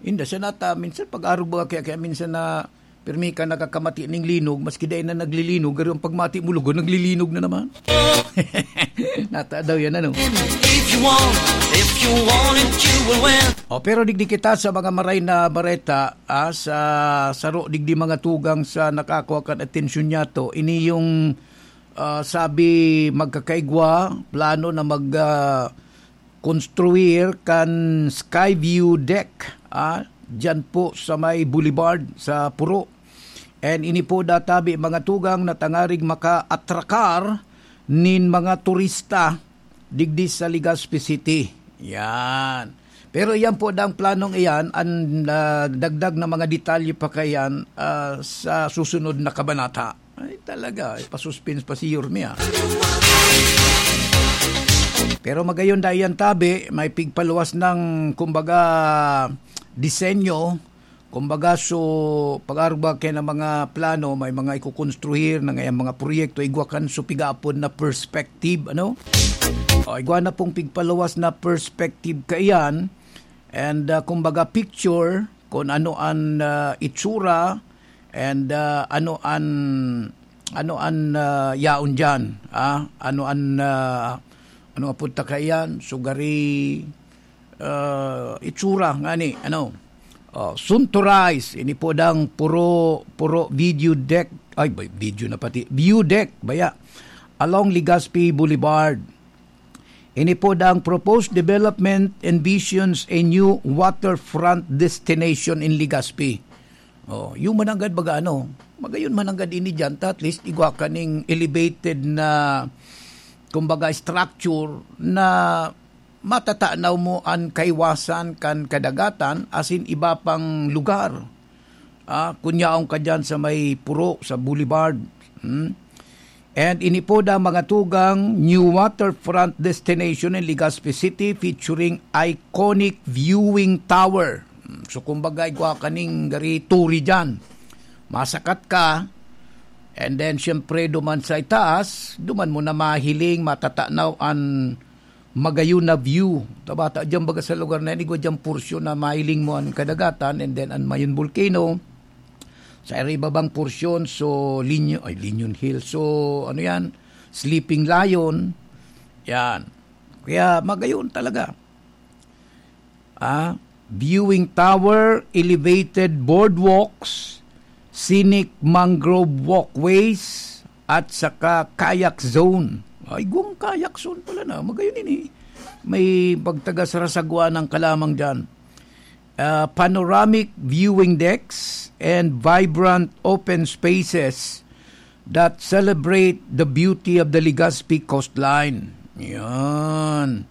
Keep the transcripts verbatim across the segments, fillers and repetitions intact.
Inda siya nata, minsan pag-arog ba kaya, kaya minsan na pirmi ka nakakamati ning linog, maski dai na naglilinog, pero ang pagmati mo lugod, naglilinog na naman. Nata daw yan, ano? If you want, if you want it, you will win. O, pero digdi kita sa mga maray na bareta, ah, sa saro digdi mga tugang sa nakakua kan atensyon niya to. Ini yung, ah, sabi magkakaigwa, plano na mag, ah, konstruir kan Skyview Deck, ah, dyan po sa may Boulevard sa Puro. And ini po databi mga tugang na tangarig makaatrakar nin mga turista digdi sa Legazpi City. Yan. Pero iyan po dang planong iyan, ang, ah, dagdag na mga detalye pa kayan, ah, sa susunod na kabanata. Ay, talaga, ay, pa-suspense pa si Yorme, ah. Pero magayon da iyan tabi, may pigpaluwas ng, kumbaga, disenyo, kumbaga, so, pag-arog ba kaya ng mga plano, may mga ikukonstruhir na ngayang mga proyekto, igwa kan so pigapod na perspective, ano? O, igwa na pong pigpaluwas na perspective kaiyan, and, ah, kumbaga, picture kung ano ang, ah, itsura, and, ah, ano ang, ano ang, ah, yaon diyan, ah? Ano ang, ah, ano nga punta kaiyan? Sugari, ah, itsura ngani, ano? Oh, Sunto Rise, ini po dang puro, puro video deck, ay, bay-, video na pati, view deck, baya, along Legazpi Boulevard. Ini po dang proposed development envisions a new waterfront destination in Legazpi. Oh, yung mananggad baga ano, magayon mananggad ini diyan, ta at least igwa kaning elevated na, kumbaga, structure na matatanaw mo an kaiwasan kan kadagatan asin iba pang lugar. Ah, kun yaon ka diyan sa may Puro, sa Boulevard. Hmm? And ini po da mga tugang, new waterfront destination in Legazpi City featuring iconic viewing tower. Hmm, so, kumbaga, igwa kaning gari turi diyan. Masakat ka, and then, syempre, duman sa itaas, duman mo na mahiling, matatanaw an magayon na view. Tabata diyan baga sa lugar na yan, igwa diyan porsyon na mahiling mo an kadagatan, and then an Mayon Volcano. Sa ibabang porsyon, so, Linyo-, ay, Linyon Hill. So, ano yan? Sleeping Lion. Yan. Kaya magayon talaga. Ah, viewing tower, elevated boardwalks, scenic mangrove walkways, at saka kayak zone. Ay, igwang kayak zone pala na. Magayon ini. May pagtagas rasagwa ng kalamang dyan. Ah, panoramic viewing decks and vibrant open spaces that celebrate the beauty of the Legazpi coastline. Yan.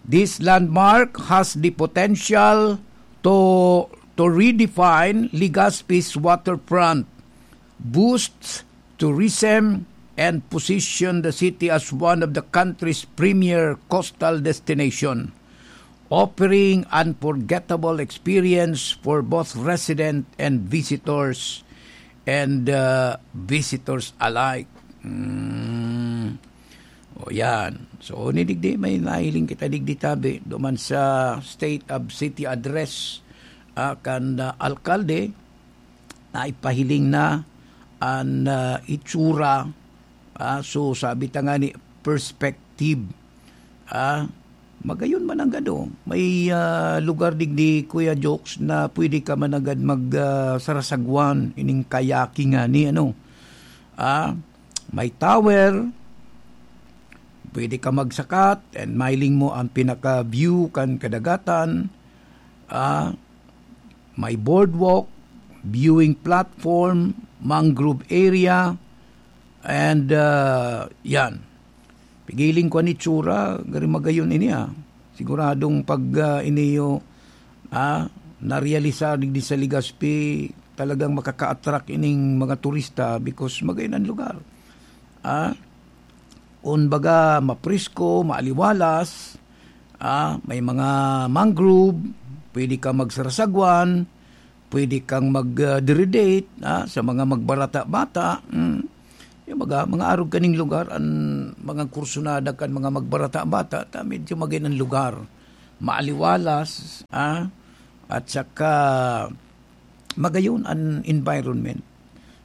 This landmark has the potential to, to redefine Legazpi's waterfront, boost tourism, and position the city as one of the country's premier coastal destination, offering unforgettable experience for both resident and visitors, and, uh, visitors alike. Mm. O, yan. So, ni digdi, may nahiling kita digdi tabi, duman sa State of City Address, ah, kan, ah, alkalde, na ipahiling na an, ah, itsura, ah, so, sabi ta nga ni perspective, ah, magayon man ang gado. May, ah, lugar digdi, Kuya Jokes, na pwede ka managad mag, ah, sarasagwan, ining kayaking nga ni, ano, ah, may tower, pwede ka magsakat and mailing mo ang pinaka-view kan kadagatan. Ah, may boardwalk, viewing platform, mangrove area, and, ah, yan. Pigiling ko an itsura, gari magayon ini, ah. Siguradong pag, ah, iniyo, ah, narealisar digdi sa Legazpi, talagang makaka-attract ining mga turista because magayon an lugar. Ah, kumbaga, mapresko, maaliwalas, ah, may mga mangrove, pwede ka magsarasagwan, pwede kang mag, ah, dire-date, ah, sa mga magbarata-bata. Mm. Yung mga, mga arog kaning lugar, ang mga kursunada kan mga magbarata-bata, ta medyo magayon an lugar. maaliwalas, ah, at saka magayon an environment.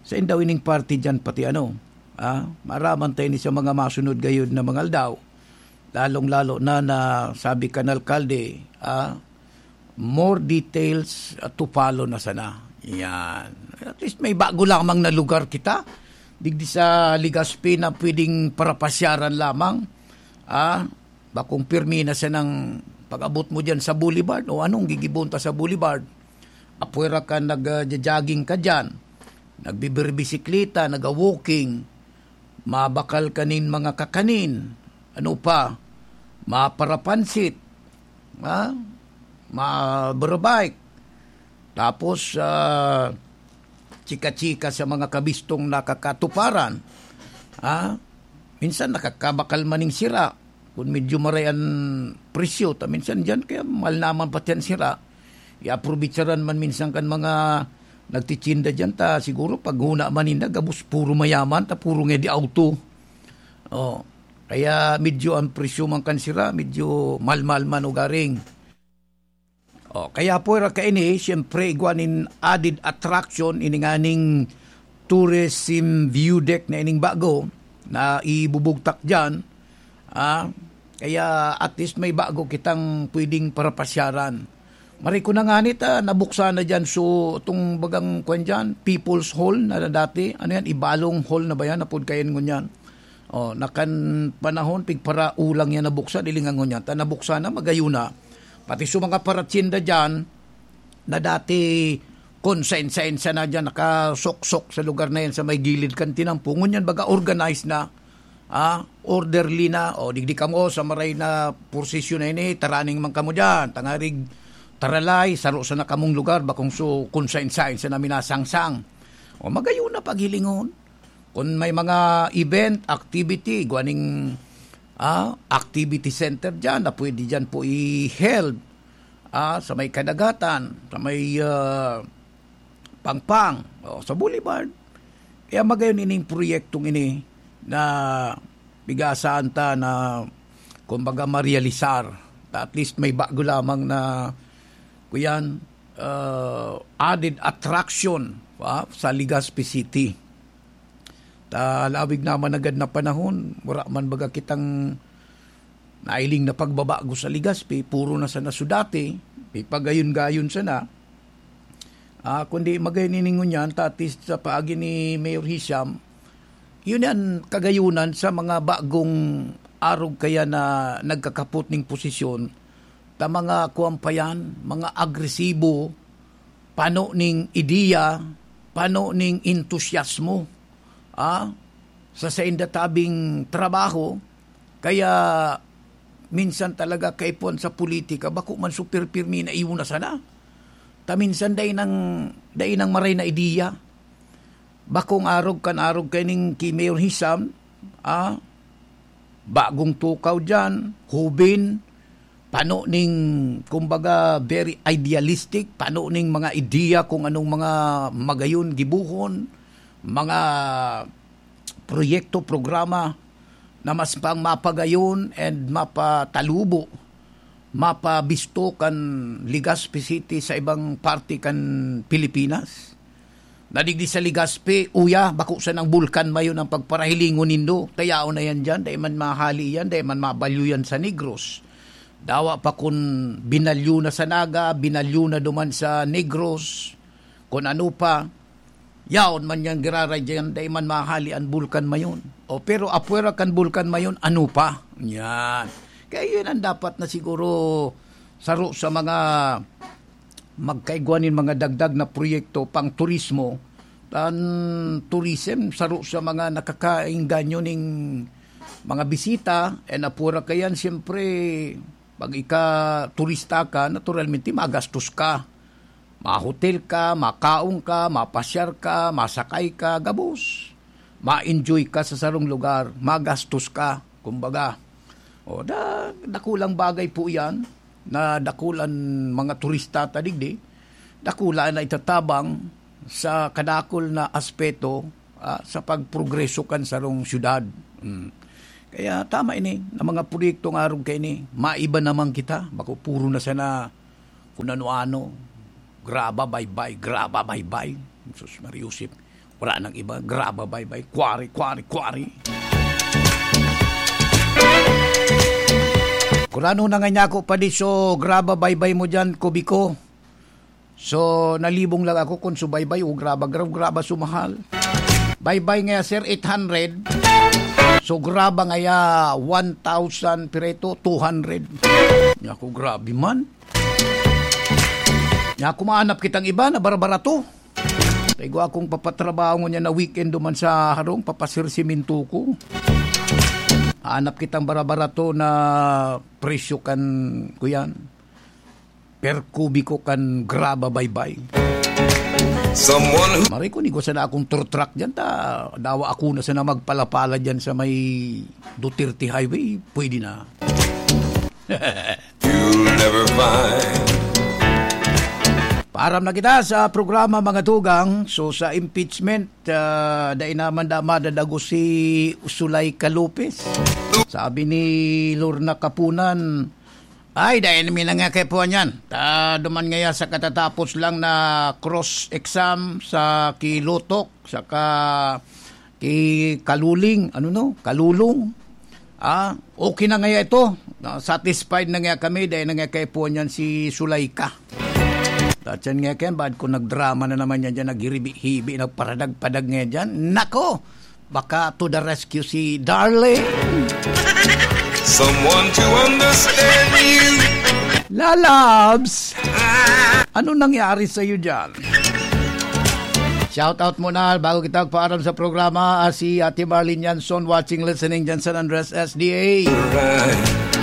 Sa indaw ining party dyan, pati ano, ah, maraman tayo ni sa mga masunod gayod na mga aldaw, lalong-lalo na, na sabi kan alkalde, ah, more details, ah, to follow na sana. Yan. At least may bago lamang na lugar kita. Digdi sa Legazpi na pwedeng parapasyaran lamang. Ah, bakong pirmi na sanang pag-abot mo dyan sa Boulevard. O anong gigibon ta sa Boulevard? Apwera ka, nag-jogging ka dyan. Nagbibirbisikleta, nag-walking. Mabakal ka nin mga kakanin. Ano pa? Maparapansit. Ha? Mabarabike. Tapos, ah, chika-chika sa mga kabistong nakakatuparan. Ha? Minsan nakakabakal man ning sira. Kung medyo maray an presyo, ta minsan diyan, kaya mahal naman pati an sira. Iaprobitsaran man minsan kan mga nagtitinda diyan, ta siguro pag huna man ninda, gabos puro mayaman, ta puro nga di auto. Oh, kaya medyo ang presyo man kan sira, medyo mahal-mahal man ugaring. Oh, kaya pwera kaini, siyempre, igwa nin added attraction, ini nganing tourism view deck na ining bago na ibubugtak diyan. Ah, kaya at least may bago kitang pwedeng parapasyaran. Maray ko na nga ni ta, nabuksan na diyan. So, itong bagang, kwan diyan, People's Hall na dati. Ano yan? Ibalong Hall na ba yan? Apod kayan ngunyan. Oh, nakan panahon, pigparaulang yan nabuksan, ilingan ngunyan. Ta nabuksan na, magayon na. Pati sa mga paratyenda diyan, na dati, kung sain-sain sana diyan, nakasuksok sa lugar na yan, sa may gilid kan tinampo. Ngunyan, baga organized na. Ah, orderly na. O, digdi kamo sa maray na prosesyon na ini, taraning man kamo diyan. Tangarig taralay, saro sana kamong lugar, bakong so, kung sain-sain sana minasangsang. O, magayon na paghilingon. Kung may mga event, activity, igwa ning, ah, activity center diyan na pwede diyan po i-held, ah, sa may kadagatan, sa may, ah, Pangpang, o sa Boulevard. Kaya magayon ining proyektong ini na pigasaan ta na, kumbaga, marealisar. At least may bago lamang na, kuyan, ah, added attraction, ah, sa Legazpi City. Ta lawig naman agad na panahon, wala man baga kitang nailing na pagbabago sa Legazpi, puro na sana su dati, may pagayon-gayon sana. Ah, kundi magayon ini ngunyan, ta at least sa paagi ni Mayor Hisham, yun yan kagayunan sa mga bagong arog kaya na nagkakapot ning posisyon, ta mga kuwan pa yan, mga agresibo, pano ning ideya, pano ning entusiasmo, ah, sa sainda tabing trabaho, kaya minsan talaga kaipuhan sa politika, bako man super pirmi na iyo na sana. Ta minsan dai nang, dai nang maray na ideya. Bakong arog kan arog kaining ki Mayor Hisham, ah, bagong tukaw diyan, hubin, pano ning, kumbaga, very idealistic, pano ning mga ideya kung anong mga magayon gibuhon, mga proyekto, programa na mas pang mapagayon and mapatalubo, mapabisto kan Legazpi City sa ibang parte kan Pilipinas. Na digdi sa Legazpi, uya, bako sanang bulkan mayon ang pagparahilingon nindo. Tayaon na yan dyan, dai man mahali yan, dai man mabalyo yan sa Negros. Dawa pa kun binalyo na sa Naga, binalyo na duman sa Negros, kun ano pa, yaon man yan giraray dyan, dai man mahali an bulkan mayon. O, pero apwera kan bulkan mayon, ano pa? Yan. Kaya yun ang dapat na siguro saro sa mga magkaigwa nin mga dagdag na proyekto pang turismo. Tan tourism, saro sa mga nakakaengganyo ning mga bisita, e napura kayan, siyempre, pag ika turista ka, naturalmente, magastos ka. Mahotel ka, makaon ka, mapasyar ka, masakay ka, gabos. Ma-enjoy ka sa sarong lugar, magastos ka, kumbaga. O, da-, dakulang bagay po yan na dakulang mga turista ta digdi. Dakula na itatabang sa kadakul na aspeto, ah, sa pagprogreso kan sarong syudad. Mm. Kaya tama ini, na mga proyekto nga arog kaini, maiba naman kita. Bako puro na sana kun ano-ano. Graba, baybay, graba, baybay. Sus, Maria Josep, wala nang iba. Graba, baybay, kwari, kwari, kwari. Kurano na nga niya ako pa di so graba, baybay mo dyan, Kubiko? So, nalibong lang ako kung so baybay o graba, graba, graba, sumahal. Baybay nga, sir, eight hundred. So, graba nga ya, one thousand, pireto, two hundred. Nya ako, grabe man. Nya ako, maanap kitang iba na barabarato. Taigo akong papatrabaho ngunyan na weekend duman sa harong, papasirsiminto ko. Hanap kitang barabarato na presyo kan, kuyan. Per kubiko kan graba baybay. Someone who Maray ko, ni ko sana akong tour truck dyan, ta dawa ako na sana magpalapala dyan sa may Duterte Highway, pwede na. You'll never find. Paaram na kita sa programa, mga tugang. So, sa impeachment, ah, dai naman da madadago si Zuleika Lopez. Sabi ni Lorna Kapunan, "Ay, dai namin na nga kaipuhan yan. Ta, duman ngaya sa katatapos lang na cross-exam sa kilotok, saka ki Kaluling, ano no? Kalulong. Ah, okay na ngaya ito. Na, satisfied na ngaya kami, dai na ngaya kaipuhan yan si Zuleika." Tatyan ngaya kayan, baad ko nagdrama na naman yan dyan, naghihibi-hibi, nagparadag-padag ngaya dyan. Nako! Baka to the rescue si Darling. Someone to understand you. Lalabs! Ano nangyari sa'yo dyan? Shout out muna, bago kita magpaaram sa programa, ah, si Ate Marlene Yanson, watching, listening dyan sa San Andres S D A.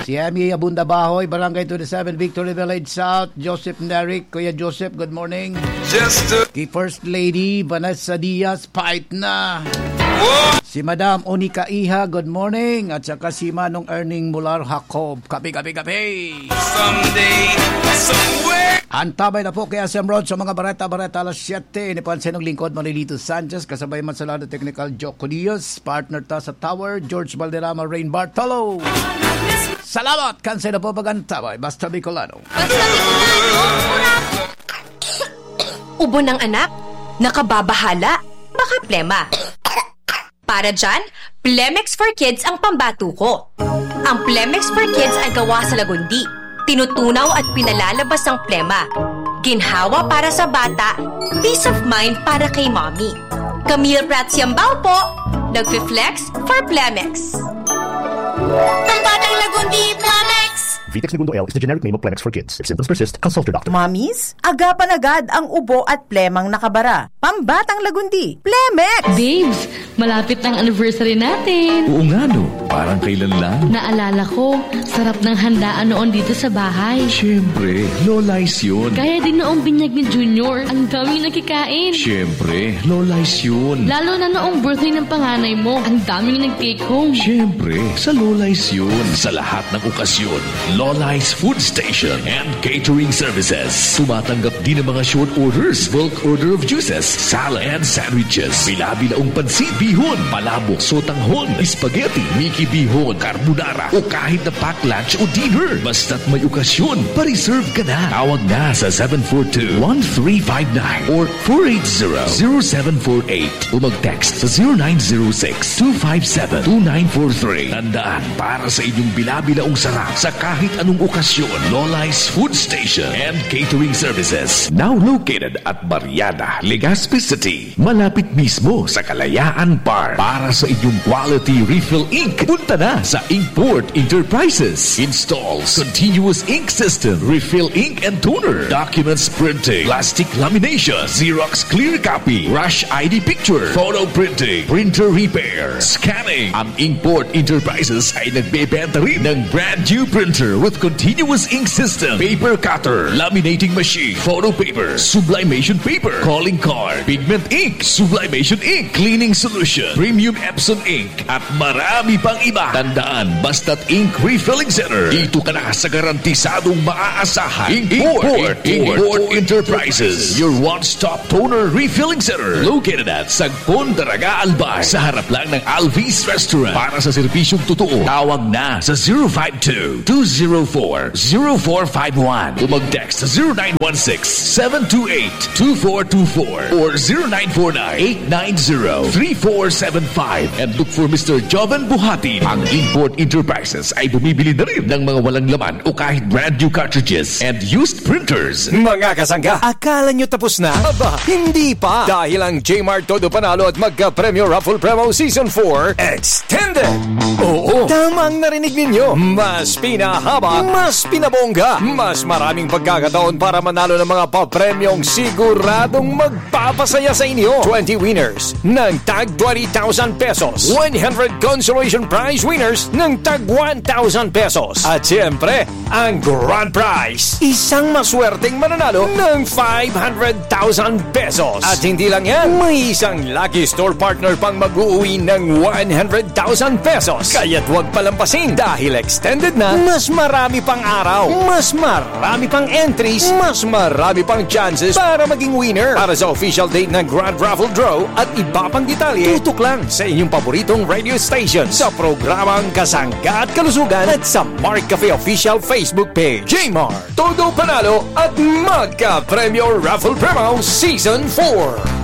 Si Emmy Abunda Bahoy, Barangay twenty-seven, Victory Village South. Joseph Neric, Kuya Joseph, good morning. Just a Kay First Lady Vanessa Diaz, pait na. Si Madam Onika Iha, good morning. At saka si Manong Erning Mular Jacob. Kape, kape, kape. Someday, somewhere. Antabay na po kay S M Rod sa mga bareta-bareta alas siyete. Ini po ang sinong lingkod, Marilito Sanchez, kasabay man sa lado technical, Joko Diaz, partner ta sa Tower, George Valderrama, Rain Bartolo. Salamat kan sa ino po pag-antabay. Basta Bicolano. Ubo ng anak? Nakababahala? Baka plema. Para dyan, Plemex for Kids ang pambato ko. Ang Plemex for Kids ay gawa sa lagundi. Tinutunaw at pinalalabas ang plema. Ginhawa para sa bata, peace of mind para kay mommy. Camille Prats Yambao po, nagfi-flex for Plemex. Pambatang lagundi, Plemex! Vitex Negundo L is the generic name of Plemex for Kids. If symptoms persist, consult your doctor. Mommies, agapan agad ang ubo at plemang nakabara. Pambatang lagundi, Plemex! Babes, malapit na ang anniversary natin. Oo nga, no? Parang kailan lang. Naalala ko, sarap ng handaan noon dito sa bahay. Siyempre, Lola's yun. Kaya din noong binyag ni Junior, ang daming nakikain. Siyempre, Lola's yun. Lalo na noong birthday ng panganay mo, ang daming nag-take home. Siyempre, sa Lola's yun. Sa lahat ng okasyon, Lola's Food Station and Catering Services. Tumatanggap din ng mga short orders, bulk order of juices, salad, and sandwiches. Bila-bilaong pansit, bihon, palabok, sotanghon, spaghetti, miki bihon, carbonara, o kahit na pack lunch o dinner. Basta't may okasyon, pa-reserve ka na. Tawag na sa seven four two, one three five nine or four eight zero, zero seven four eight o mag-text sa zero nine zero six, two five seven, two nine four three. Tandaan, para sa inyong bila-bilaong sarap sa kahit anong okasyon, Lola's Food Station and Catering Services. Now located at Barriada, Legazpi City. Malapit mismo sa Kalayaan Park. Para sa inyong quality refill ink, punta na sa Inkport Enterprises. Installs continuous ink system, refill ink and toner, documents printing, plastic lamination, Xerox clear copy, rush I D picture, photo printing, printer repair, scanning. Ang Inkport Enterprises ay nagbebenta rin ng brand new printer with continuous ink system, paper cutter, laminating machine, photo paper, sublimation paper, calling card, pigment ink, sublimation ink, cleaning solution, premium Epson ink, at marami pang iba. Tandaan, basta't ink refilling center, dito ka na sa garantisadong maaasahan. Import, Import, Import Enterprises, your one-stop toner refilling center. Located at Sagpon, Daraga, Albay, sa harap lang ng Alvis Restaurant. Para sa serbisyong totoo, tawag na sa zero five two, two zero four, zero four five one o mag-text sa zero nine one six, seven two eight, two four two four or zero nine four nine, eight nine zero, three four seven five. And look for Mister Joven Buhatin. Ang Import Enterprises ay bumibili na rin ng mga walang laman o kahit brand new cartridges and used printers. Mga kasangga, akala nyo tapos na? Aba, hindi pa! Dahil ang J-Mart Todo Panalo at Magka-Premyo Raffle Promo Season four Extended! Oo, tama ang narinig ninyo. Mas pinahaba, mas pinabongga, mas maraming pagkakataon para manalo ng mga papremyong siguradong magpapasaya sa inyo. Twenty winners ng tag twenty thousand pesos, one hundred consolation prize winners ng tag one thousand pesos. At siyempre, ang grand prize, isang maswerteng mananalo ng five hundred thousand pesos. At hindi lang yan, may isang lucky store partner pang mag-uwi ng one hundred thousand pesos. Kaya't huwag palampasin dahil extended na, mas marami pang araw, mas marami pang entries, mas marami pang chances para maging winner. Para sa official date ng Grand Raffle Draw at iba pang detalye, tutok lang sa inyong paboritong radio station sa programang Kasangga at Kalusugan at sa Mark Cafe Official Facebook Page. J-Mart, Todo Panalo at Magka-Premyo Raffle Promo Season four.